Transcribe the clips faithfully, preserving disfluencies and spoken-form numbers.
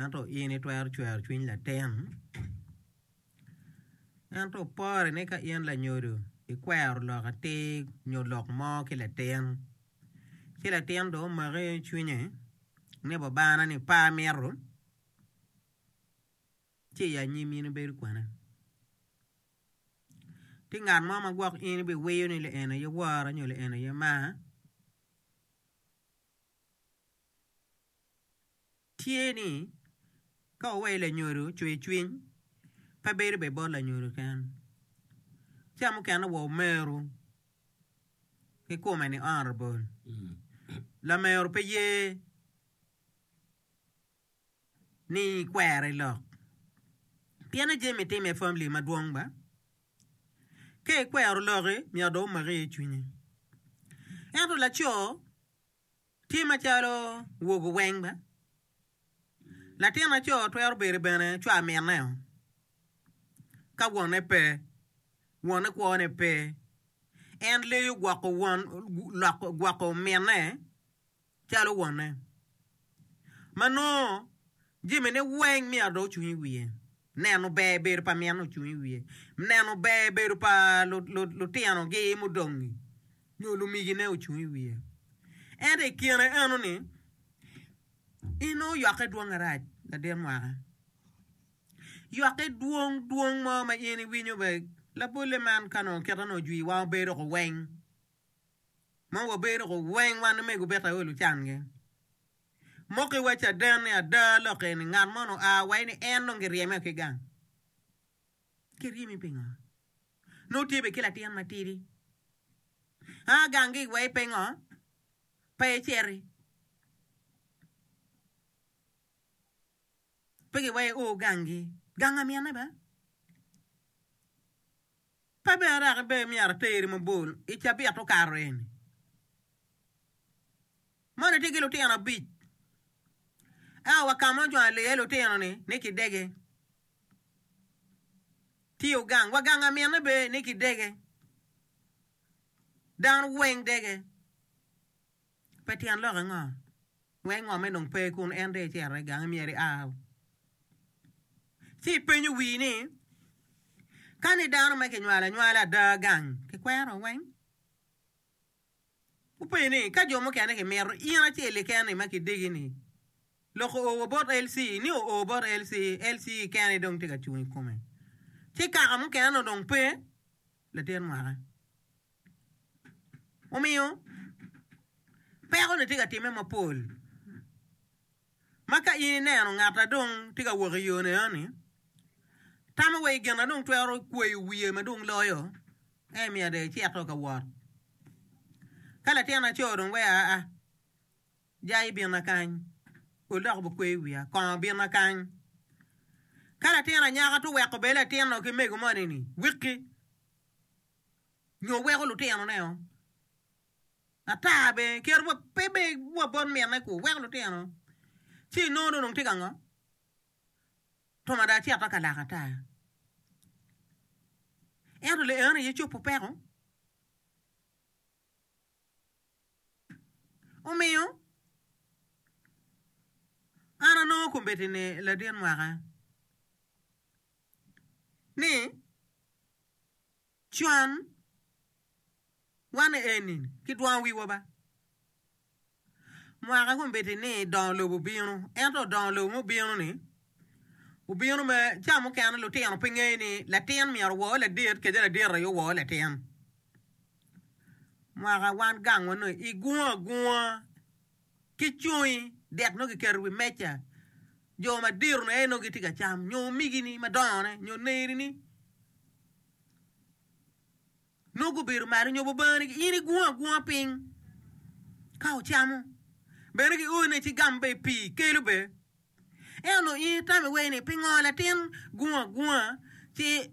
Ento in itwero cwero cwiny latin. Ento pore ni ka in lanyodo ikwero lok atir nyo lok mo ki latin, ci latin dong omaki cwinye ni babana ni pe amito, ci i anyim in ibedo kwene. Tye ngat mo ma gwok in ibiwiyo ni en aye wora nyo en aye maa. Tye ni ka wuweyo lanyodo cwer cwiny pe bedo bene bot lanyodo keken ca mukene wa omeru kikome ni honorable lamero pe ye ni ikwere lok pien jami time i family madwong ba ka ikwero loki myero dong omaki iye cwinyi ento laco Tye macalo wogo weng ba. Latin aco twero bedo bene cwa minne ka wonne pe, wonne kwone pe. En leyo gwoko won loko gwoko minne calo wonne. Ma nongo jamine weng myero dong ocung i wiye. Neno ber bedo pa minne ocung i wiye. Neno ber bedo pa lutinogi mudong-ngi. Nyo lumigine ocung i wiye. Ento i kine enoni, in nongo yokke dwong arac ladit mwaka. Yokke dwong dwong mo ma in iwinyo bene labolle man ka nongo kite nongo ojwi wan wabedo ko weng. Ma wabedo ko weng wan omego bita aye lucangi. Moki wa caden ni ada lok eni ngat mo nongo oa wa ni en dong giryeme ki gang. Kiryemi pingo? Nongo tye bene ki latin matidi. A gangi wai pingo pe iciti? Pe giwai o gangi. Gang amine ba? Pe bene dok be myero ateri mabor i cabit okato eni. Moni tye ki lutino abic. Ento wa ka ma ocung aliye lutino-ni ni kidege. Tye ogang wa gang amine bene ni kidege. Dano weng dege. Pe tyen lok ango? Wek ngome dong pe kun en dong ecito i gange myero ia. Ci ipenyo wii ni, ka ni dano ma kinywalo anywala ada gang kikwero weng? Gupenyo ni, Ka jo mukene gimito, in acel keken-ni ma kidegi-ni, lok oo wa bot LC, ni oo bot LC, LC kene dong tye ka cung i kome. Ci kaka mukene-ni dong pe, latin mwaka. Omiyo, peko-ni tye ka timme mapol. Ma ka in ineno ngat a dong tye ka wok i yo-ni eno-ni, tamo wa i gin ma dong twero kweyo wiye ma dong loyo, en myero dong ecito ka wot. Ka latin aco dong wek aa, jai binna kany, ol dok obikweyo wiya, kongo binna kany. Ka latin anyaka to weko bene latin-nu ki mego moni-ni wiki nyo weko lutinone-o. Ata bene keto wa pe bene wa bot minne ku weko lutino ci inongo ni dong tye ka ngo twom ada cito ka lak ata ento le eno aye cobo peko omiyo an anongo kombeddi ni ladit mwaka ni con Wan eni kidwongo wiwa ba. Mwaka kombeddi ni dongo lobo obino, ento dongo lobo mubino ni obino me ca mukene lutino pe ngeyo ni latin myero owor ladit kede ladit aye owor latin. Mwaka wan gangwa nongo igungo agunga ki cungi dek nongo kiketo i wi meja jo madito ni aye nongo gitye ka cam nyo omegini madongone nyo nerini. Nongo gubedo malo nyo bobani in igungo agunga piny ka ocamo bene gione ci gam bene pii kelo bene ento nongo in itamo iwei ni pingo latin gungo agunga ci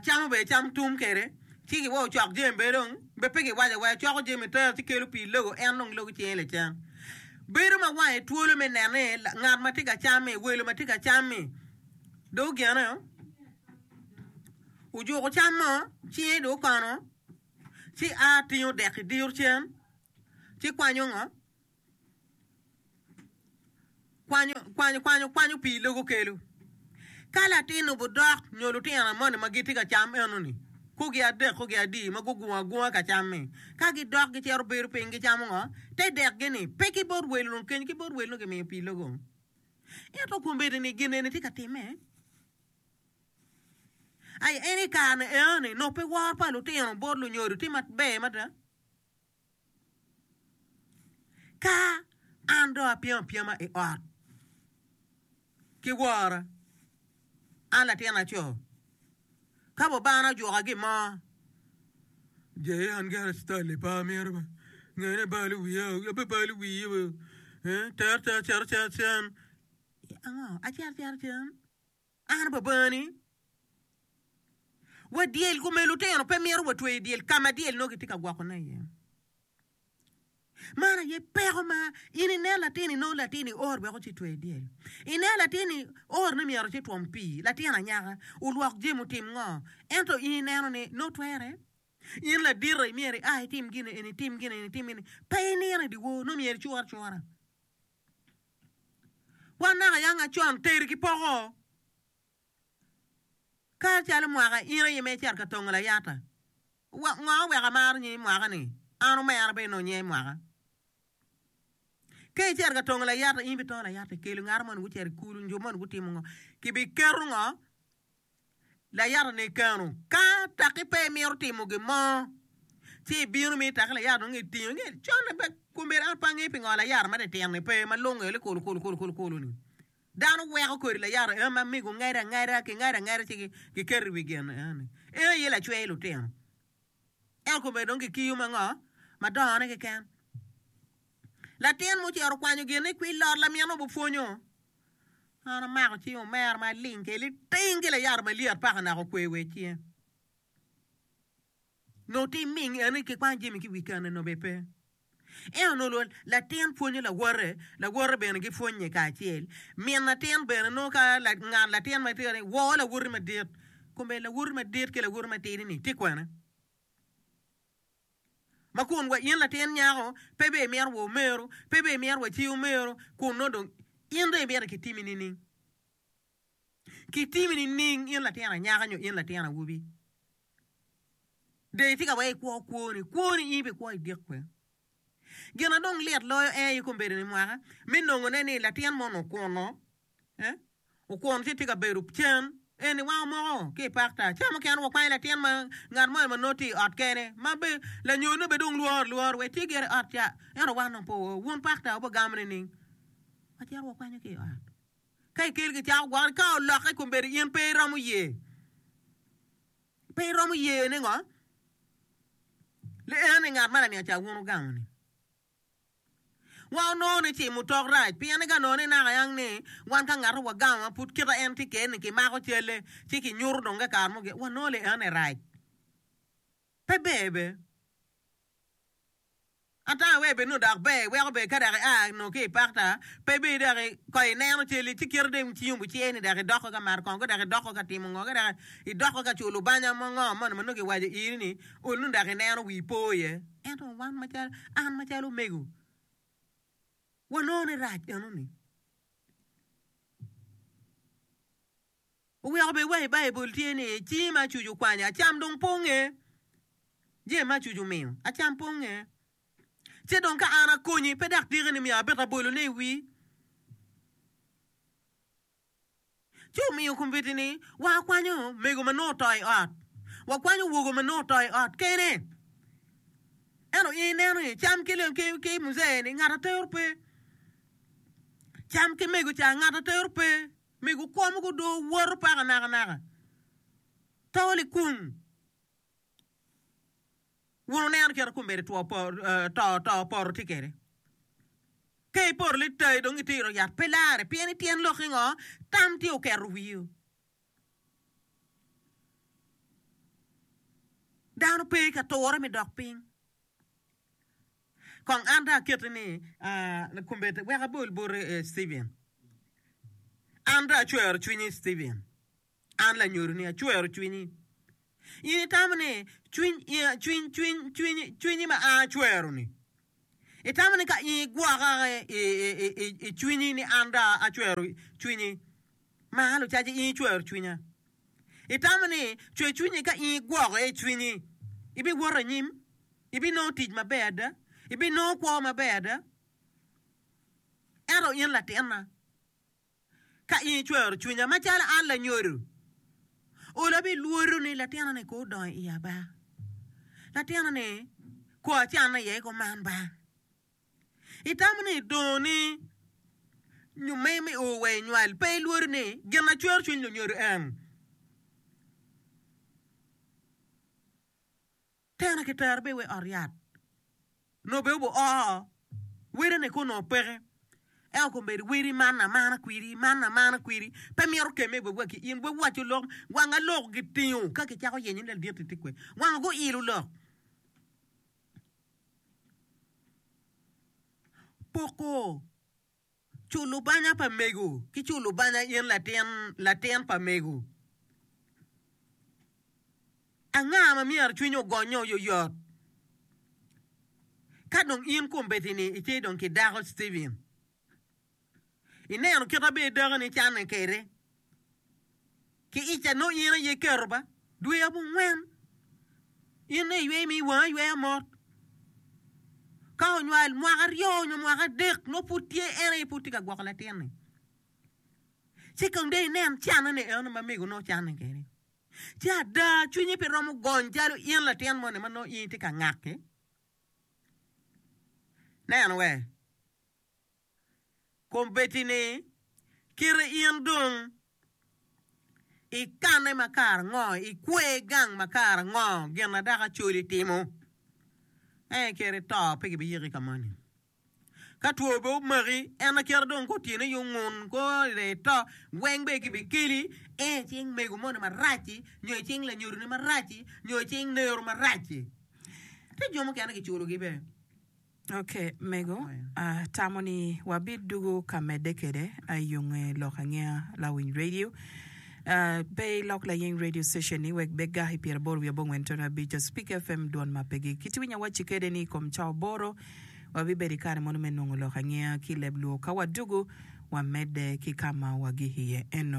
camo bene cam tum kwede ci giweko ocok jami bene dong be pe giwaco awaca coko jami tero ci kelo pii logo en dong logo cinge lacen bedo ma wange twolo me neno ni ngat ma tye ka cam-mi welo ma tye ka cam-mi dong ogene. Ojuko cam mo, cinge dong okono, ci a tingo dek i diro cen, ci kwanyo ngo? Kwanyo, kwanyo, kwanyo, kwanyo pii logo kelo. Ka latin obudok nyo lutino moni ma gitye ka cam enoni, kugi adek kugi adi ma gugungo agunga ka cam-mi, ka gidok gicito bedo piny gicamo ngo? Te dekgi-ni pe ki bot welo dong kenyo ki bot welo nongo gimiyo pii logo. Ento kombeddi-ni gin eni tye ka timme. Ai en i kare-ni enoni nongo pe woro pa lutino bot lunyodo tye maber mada. Ka an dong apyem apyema i ot ki wora, an latin aco, ka babana ojuka gin mo, je an gire citali pe amito ba, ngene balo wiya, abibalo wiyi ba, ter ter cito cito cen, ango acito acita cen, an babani. Wa dyel kome lutino pe myero watwe i dyel ka ma dyel nongo gitye ka gwokone iye. Man aye peko ma in inen latin inongo latin ior wek ocitwe i dyel. Inen latin ior ni myero ocitwom pii, latin anyaka olwok jami otim ngo, ento in ineno ni nongo twere. In ladit myero ia itim gin eni itim gin eni itim gin eni pe inino i dyewor nongo myero icur acura. Wan naka yang acon teri ki poko. Ka calo mwaka in aye ma icito ka tongo layata, ngo oweko amaro nyingi mwaka-ni? An omera bene nongo nyinga mwaka. Ka icito ka tongo layata, in ibitongo layata ikelo ngat moni gucito i kulu nyo moni gutimo ngo, kibiketo ngo layata-ni keno. Ka taki pe imito timo gin mo, ci ibino mi taki layata dong itingo con pe kombedo an pe angeyo pingo layata ma titino-ni pe ma lunge likulu kulu kulu kulu-ni. Dano weko kodi layata en ma mego ngede angeda, kingado angeda ci giketo i wi gin eni. En aye lacwe lutino. Ento kome dong kikiyo ma ngo? Ma dongone keken. Latin mucito okwanyo gin ni kwil lot lamine obupwonyo. An amako cing omera ma aling kede liting ki layata malyet paka naka okwe wa i cinge. Nongo tim ming eni kikwanyo jami ki i wi kene nongo bene pe. Ento onongo latin pwonyo lawote, lawote bene gipwonye kacel. Min latin bene nongo ka ngat latin ma tye ni wor lawoti madit, kome lawoti madit ki lawoti matidi-ni tye kwene? Ma kun wa in latin nyako pe bene imito wa omeru, pe bene imito wa ci omeru, kun nongo dong in dong imito kitimi nining? Kitimi nining in latin anyaka nyo in latin awobi? Dong itye ka wek ikwo kwoni, kwoni in ibikwo i dyek kwe. Gin na dong lit loyo en aye kombeddi ni mwaka me nongone ni latin moni okuno, eh, okuno ci tye ka bedo cen, eni wang omoko ki i pakta. Ca mukene wakwanyo latin ma ngat moni ma nongo tye i ot kene ma be lanyone be dong lworo lworo wek tye gire i ot ca, ento wan dong pe wao. Wun pakta wubigamo nining? Wacito wakwanyo ki i ot. Ka ikelo kicako gwoko ka olokke kombeddi in pe iromo ye. Pe iromo ye ni ngo? Li en ni ngat ma laniang ca wun wugamo ni. Wan onongo ni cimo tok rac pien ni ka nongo ni naka yang ni wan ka ngat wagamo ma pud kita en tye kene ni kimako calle ci kinyuto dong ka kare mo wanongo li en ni rac. Pe ber be. Ata wek bed nongo dok ber weko bed ka dok ia nongo ki i pakta pe bed dok ko ineno cel-li ci kite dong cingi obucer ni dok idoko ka mato kongo ka dok idoko ka timo ngo ka dok idoko ka culo banya mo ngo moni ma nongo kiwaco iri ni ol nongo dok ineno wii po iye ento wan macalo an macalo omego wanongo ni rac enoni. Oweko bed wa i Baibul tye ni cingi ma acuc okwanyo acam dong pe onge. Jami ma acuc omiyo acam pe onge. Ci dong ka an akonyi pe dok tiki ni myero abit abolone i wii. Ci omiyo kombeddi ni wakwanyo mego ma nongo oto i ot, wakwanyo wogo ma nongo oto i ot kene. Ento in ineno ni cam ki ki muzee ni ngat atero pe, cam ki mego ca ngat atero pe. Mego kwo mogo dong woto paka nakanaka, to likung. Wun wuneno kit ma kombeddi two to to poto tye kwede. Ka ipoto litayi dong itiro yat pe larre pien ityen lokki ngo tam tye oketo wiu. Dano pe ka ture me dok piny. Kong an dong aketi ni kombeddi wek abol boti Stephen. An dong acwero cwinyi Stephen. An lanyodoni acwero cwinyi. In itamo ni cwiny cwiny cwiny cwinyi cwinyi ma an acwero-ni Itamo ni ka in igwoka i cwinyi ni an dong acwero cwinyi, ma lucaci in icwero cwinya. Itamo ni cwer cwinyi ka in igwoko i cwinyi, ibiwoto anyim, ibinongo tic maber ada, ibinongo kwo maber ada. Ento in latinna, ka in icwero cwinya macalo an lanyodo, olo abilworo ni latinna-ni ko odongo i iya ba, latinna-ni ko acanne iye kuman ba. Itamo ni idongo ni nyo me me o wa inywal pe ilworo ni gin ma cwero cwiny lunyodo en. Tena kitero be wa i ot yat nongo be obo oo wede-ni ko onongo peke ento kombeddi wedi man amana kwidi man amana kwidi pe mito kemme wa ki in wawaco lok wanga lok gitingo ka kicako yenyo ni ladit-ti tye kwede wanga guilo lok. Poko culo banya pa mego ki culo banya in latin latin pa mego. Anga ma myero cwinye ogonye oyoyot? Ka dong in kombeddi-ni itye dong ki dako Stephen, ineno kit ma bene dakoni canne kwede ki ica nongo in aye iketo ba dwe abongwen in nongo iywe mi wangi ayweya mot ka onywal mwaka aryo nyo mwaka adek nongo pud tye en aye pud tye ka gwoko latin-ni ci kong dong inen canne-ni eno ma mego nongo canne kwede ci ada cwinyi pe romo gony calo in latin moni ma nongo in itye ka ngak-ki neno we. Kombeddi-ni, kite in dong ikanne ma kare ango, ikwer gang ma kare ango, gin ma dok Acholi timo? Ee, kite ito pe gibiyiki ka moni. Ka two bene omaki, en kite dong ka otyeno aye ongun, ko ito, weng bene gibikeli, ee, i cing mego moni marac-ci, nyo i cing lanyodoni marac-ci, nyo i cing nero marac-ci. Tye jo mukene kiculogi bene. Ok mego, atamo ni wabidwogo ka medde kede i yonge lok angeya lawiny radio. Pe ilok layeng radio station ni wek be gaki pyeraboro wiye abongwen tono abic Speak FM dwon ma pe gik. Kit winyo awacci kede ni i kom cawa aboro wabibedo i kare mono me nongo lok angeya ki i leb luo. Ka wadwogo wamedde ki ka ma wagik iye eno.